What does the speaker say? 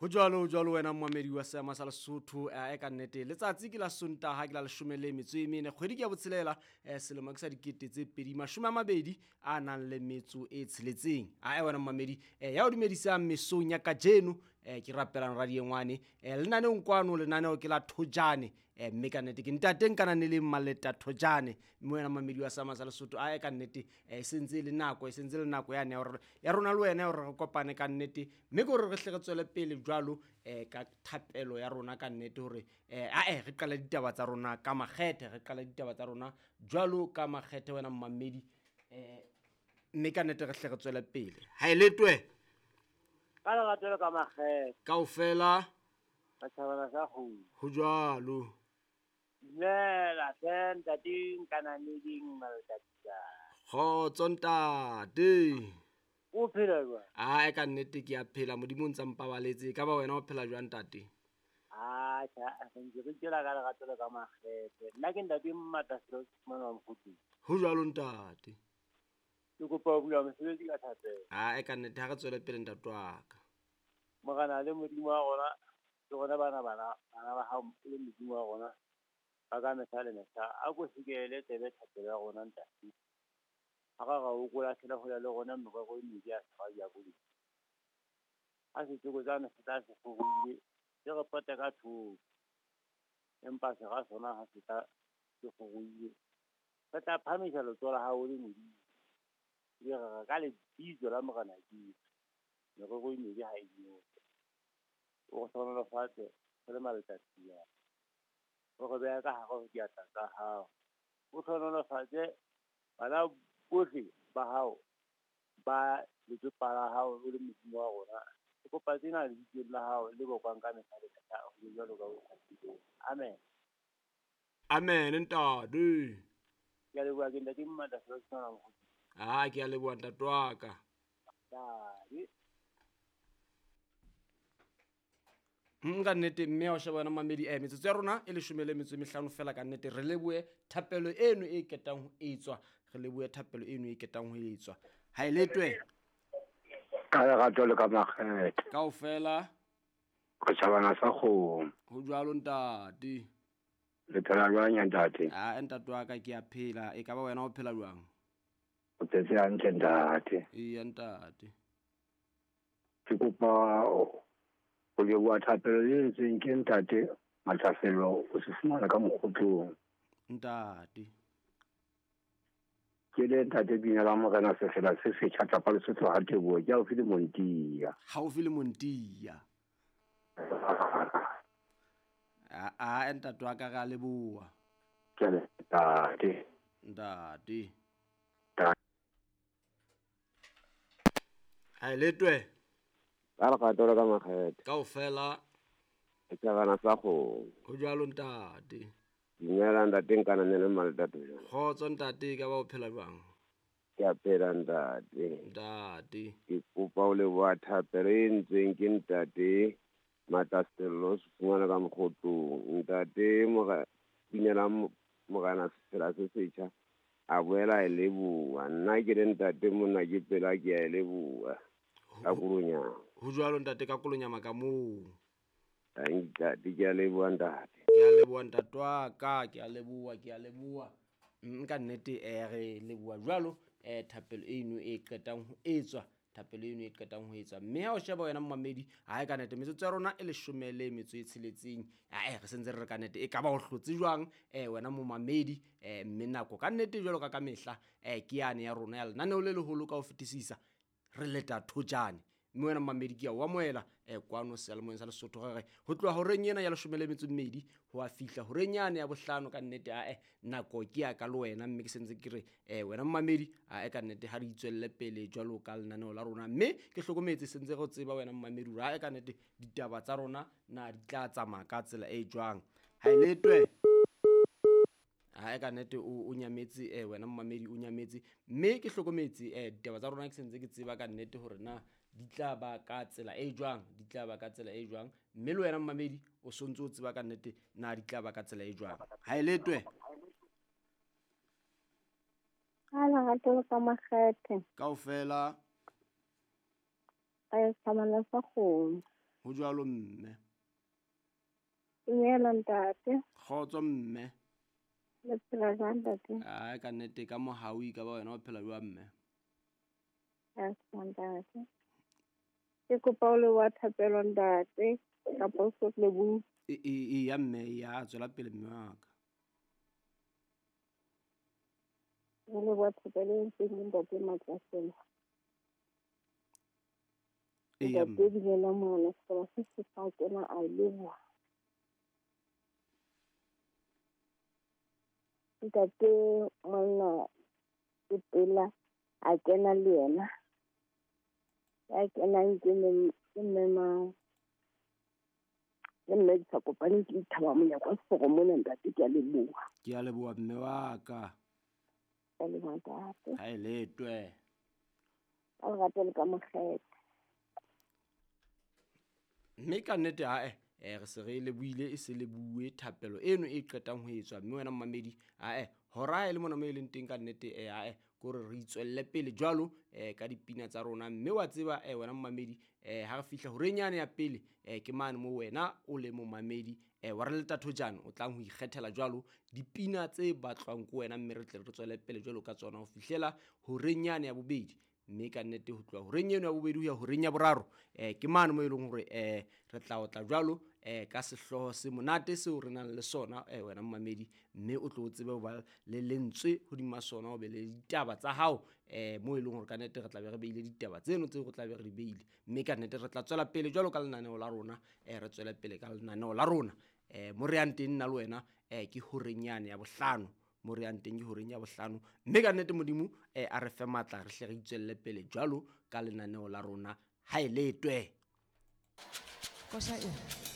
Ho jwalo, ho jwalo wena mmamedi wa seama sa Lesotho. E ka nnete letsatsi ke la Sontaha, ke la 14, kgwedi ke ya botshelela, selemo ke sa 2026. Ae wena mmamedi, ya o dumedisang mesong ya kajeno, ke rapelang radiengwane, lenaneong kwano, lenaneo ke la Thojane, mme ka nnete ke ntate Nkananeleng Maleta Thojane. Mme wena mmamedi wa seama sa Lesotho, ae ka nnete, e sentse e le nako, e sentse le nako yane ya hore ya rona le wena ya hore re kopane ka nnete, mme ke hore re hle re tswele pele jwalo ka thapelo ya rona ka nnete, hore ae re qale ditaba tsa rona ka makgethe, re qale ditaba tsa rona jwalo ka makgethe wena mmamedi, mme ka nnete re hle re tswele pele. Ha e letwe ka lerato le ka makgethe kaofela setjhabana sa kgomo. Ho jwalo. Dumela hle ntate Nkananeleng Maleta. Kgotso ntate. O phela jwang? Ae ka nnete ke a phela, Modimo o ntsa mpabaletse. Ka ba wena o phela jwang ntate? Atjha, re ntse re itjela ka lerato le ka makgethe. Nna ke ntate Mmataselo Fumana wa Mokhutlong. Ho jwalo ntate. Ke kopa ho bula mosebetsi ka thapelo. Ae ka nnete ha re tswele pele ntate wa ka. Morena le Modimo wa rona, ke rona bana bana bana ba hao e le Modimo wa rona ba ka mehla le mehla. A ko sekele tsebe thapelo ya rona ntate. Ha ra ra o kolahlela hole le rona merero e mebe ya sera diabolose. Ha setsokotsane se tla se kgorohile, se re pote ka thoko. Empa sera sona ha se tla se kgorohile, re tla phahamisa letsoho la hao le Modimo. Ebe re re ka lebitso la Morena Jesu, merero e mebe ha e nyope. O re hlohonolofatse re le maletsatsi ana. O re behe ka hare ho diatla tsa hao. O hlohonolofatse bana bohle ba hao ba letsopa la hao o le Modimo wa rona. Ke kopa tsena lebitsong la hao le bokwang ka mehla le mehla, ho be jwalo ka o kgethileng. Amen. Amen ntate. Ke a leboha, ke ntate Mmataselo Fumana Mokhutlong. Ah, ke a leboha ntate wa ka. Ntate. Ka nnete mme ya o sheba wena mamedi, metsotso ya rona e 15 fela ka nnete. Re lebohe thapelo eno e ketang ho etswa, re lebohe thapelo eno e ketang ho etswa. Ha e letwe ka lerato le ka makgethe kaofela setjhabana sa kgomo. Ho jwalo ntate. Le phela jwang ya ntate? Ah, ntate wa ka ke a phela. E ka ba wena o phela jwang? O phetse hantle ntate. Eya ntate. Ke kopa ho leboha thapelo e entsweng ke ntate Matlafelo o se fumana ka Mokgotlong. Ntate. Ke le ntate Binela Morena Sefela se setjha tlapa Lesotho ha Teboho, ke haufi le Montia. Haufi le Montia. A ntate wa ka re a leboha. Ke a ntate. Ntate. Ha e letwe. Ka lerato le ka makgethe kaofela setjhabana sa kgomo. Ho jwalo ntate. Dumela ntate Nkananeleng Maleta. Kgotso ntate, ka ba o phela jwang? Ke a phela ntate. Ntate. Ke kopa ho leboha thapelo e entsweng ke ntate Mataselo se fumana ka Mokgotlong. Ntate Binela Morena Sefela se setjha a boela a e leboha. Nna ke le ntate monna ke pela ke a e leboha. Ka kolonyama. Ho jwalo ntate, ka kolonyama ka moo. Ntate ke a leboha ntate. Ke a leboha ntate wa ka, ke a leboha, ke a leboha. Ka nnete re leboha jwalo thapelo eno e qetang ho etswa, thapelo eno e qetang ho etswa. Mme ha o sheba wena mmamedi, ha e ka nnete metsotso ya rona e 16. Ae re sentse re re ka nnete e ka ba o hlotse jwang wena momamedi, mme nako ka nnete jwalo ka ka mehla ke yane ya rona ya lenaneo le leholo ka ho fetisisa, re leta Thojane. Mme wena mmamedi ke a o amohela kwano seyalemoyeng sa Lesotho. Re re ho tloha horeng ena ya 12 ho a fihla horeng yane ya bohlano ka nnete. Ae nako ke ya ka le wena, mme ke sentse ke re wena mmamedi, ae ka nnete ha re itswelle pele jwalo ka lenaneo la rona. Mme ke hlokometse sentse re tseba wena mmamedi hore ae ka nnete ditaba tsa rona na di tla tsamaya ka tsela e jwang. Ha e letwe. Ha e ka nnete o nyametse, wena mmamedi o nyametse. Mme ke hlokometse ditaba tsa rona ke sentse ke tseba ka nnete hore na di tla ba ka tsela e jwang, di tla ba ka tsela e jwang. Mme le wena mmamedi o sontse o tseba ka nnete na di tla ba ka tsela e jwang. Ha e letwe. Ka lerato le ka makgethe kaofela setjhabana sa kgomo. Ho jwalo mme. Dumela ntate. Kgotso mme. Le phela jwang ntate? Ai ka nnete ka mohau e ka ba wena o phela jwang mme? Ya ntate. Ke kopa o leboha thapelo ntate kapa o so lebohe. E ya mme ya tswela pele mme wa ka. Re leboha thapelo e entsweng ke ntate Matlaselo. Eya Ntate mme. Binela Morena sefela se se sa kena a leboha. Ntate monna Sepela a kena le yena. Ya kenang ke mme mang? Le mme ke sa kopane ke Thaba Monyako wa Seforo mona ntate, ke a leboha. Ke a leboha mme wa ka. Ke a leboha ntate. Ha e letwe. Ka lerato le ka mokgetho. Mme ka nnete ae re se re lebohile e se lebohuwe thapelo eno e qetang ho etswa mme wena mmamedi ae hora ha e le mona mo e leng teng ka nnete ae ke hore re itswelle pele jwalo ka dipina tsa rona mme wa tseba wena mmamedi ha re fihla horeng yane ya pele ke mane mo wena o le momamedi wa re leta thojane o tlang ho ikgethela jwalo dipina tse batlwang ke wena mme re tle re tswele pele jwalo ka tsona ho fihlela horeng yane ya bobedi. Mme ka nnete ho tloha horeng eno ya bobedi ho ya horeng ya boraro ke mane mo e leng hore re tla otla jwalo ka sehlooho se monate seo re nang le sona wena mmamedi mme o tlo tsebe ho ba le lentswe hodima sona o be le ditaba tsa hao mo e leng hore ka nnete re tla be re beile ditaba tseno tseo re tla be re di beile mme ka nnete re tla tswela pele jwalo ka lenaneo la rona re tswele pele ka lenaneo la rona mo re yang teng nna le wena ke horeng yane ya bohlano. Mo re yang teng ke horeng ya bohlano mme ka nnete Modimo a re fe matla re hle re itswelle pele jwalo ka lenaneo la rona ha e letwe. Koša e.